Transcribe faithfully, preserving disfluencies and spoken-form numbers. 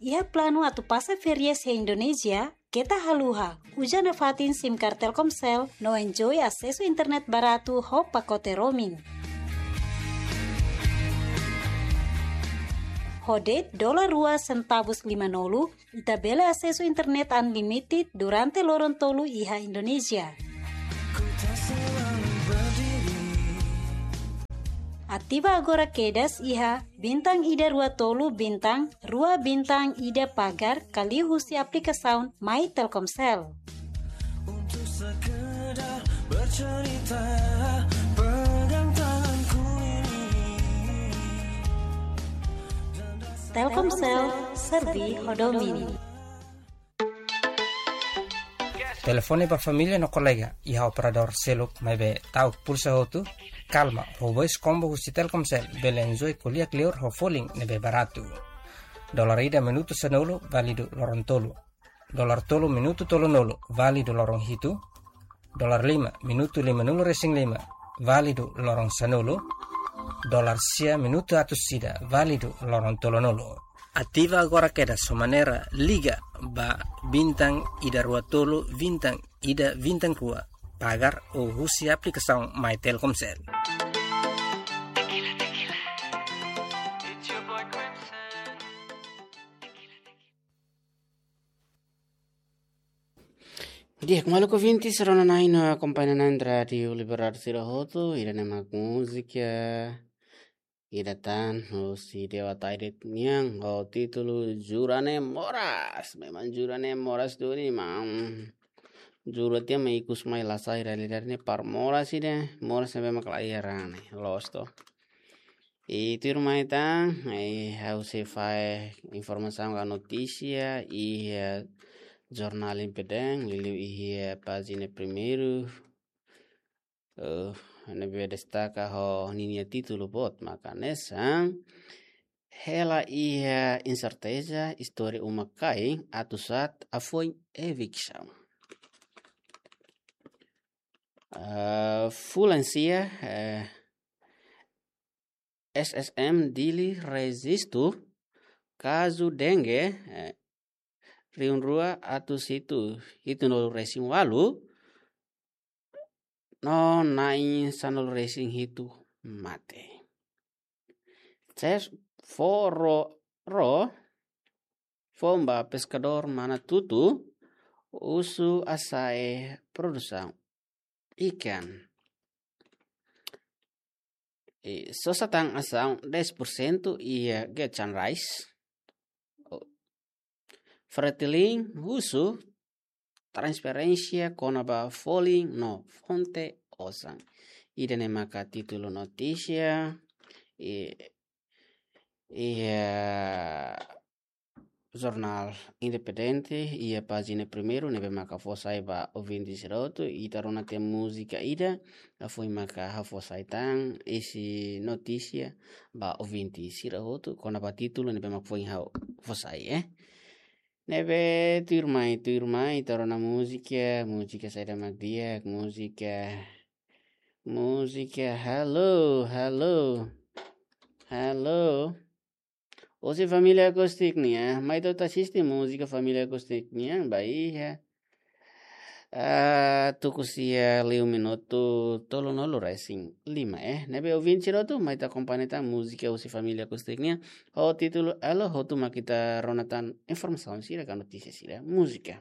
Iha planu atu pasa férias iha Indonézia, keta haluha, uza nafatin SIM card Telkomsel, no enjoy asesu internet baratu ho pakote roaming. Ho de'it dolar rua sentavus lima-nulu, ita bele asesu internet unlimited durante loron tolu iha Indonézia. Ativa agora kedas iha bintang ida rua tolu bintang rua bintang ida pagar ka liuhusi aplikasaun My Telkomsel. Untuk sekedar bercerita, pegang tanganku ini. Telkomsel, serve ho domin. Telefone ba família no kolega iha operadór seluk maibé ta'uk pulsa hotu, kalma, ho voice combo husi Telkomsel bele enjoy ko'alia kleur ho folin ne'ebé baratu. Dolar ida minutu sanulu, válidu loron tolu. Dolar tolu minutu tolunulu, válidu loron hitu. Dolar lima minutu lima-nulu resin lima, válidu loron sanulu. Dolar sia minutu atus ida, válidu loron tolunulu. Ativa agora kedas ho maneira liga ba bintang ida rua tolu bintang ida bintang rua, pagar ou husi aplikasaun My Telkomsel. Di'ak, maluk ouvintes, rona-na'in no akompaña-na'in Rádiu Libertadora sira hotu, ida-ne'e mak múzika ida tan husi Dewa Taidit nian ho títulu Jura Ne'e Moras. Memang Jura Ne'e Moras duni, maun. Jura tiha mai ikus mai la sai realidade ne'e para moras ida, moras ne'ebé mak la iha raan ne'e, loos to. I tuirmai tan, i ha'u sei fahe informasaun ka notísia iha, eh, jornál Independente, liuliu iha, eh, pájina primeiru, eh, ne'ebé destaka ho ninia títulu boot mak hanesan: Hela iha inserteza, istória uma-kain atu sa'e hafoin eviksaun. Eh, fulan sia, eh, S S M Dili rejistu kazu dengue, eh, rihun rua atus hitu, hitunulu resin walu, no na'in sanulu resin hitu mate. Ses foro ro fomba peskadór Manatutu husu hasa'e produsaun ikan. I sosa tan asaun dez por cento iha Getxan Rice. O, Fretilin husu transparénsia kona-ba folin no fonte osan. Ida-ne'e maka títulu notísia i, iha jornál Independente iha pájina primeiru ne'ebé maka fó sai ba ouvinte sira hotu, ita rona tiha múzika ida, hafoin maka ha'u fó sai tan isi notísia ba ouvinte sira hotu kona-ba títulu ne'ebé maka foin ha'u fó sai, eh. Ne'ebé tuirmai, tuirmai, ita rona múzika, múzika saida mak di'ak, múzika, múzika, halo, halo, halo. Husi Família Acústica nian, mai ita atu asiste múzika Família Acústica nian, ba iha, ah, tuku sia liu minutu tolunulu resin lima, eh. Ne'ebé ouvinte sira hotu, mai ita akompaña tan múzika husi Família Acústica nian ho títulu Elo, hotu mak ita rona tan informasaun sira ka notísia sira. Múzika.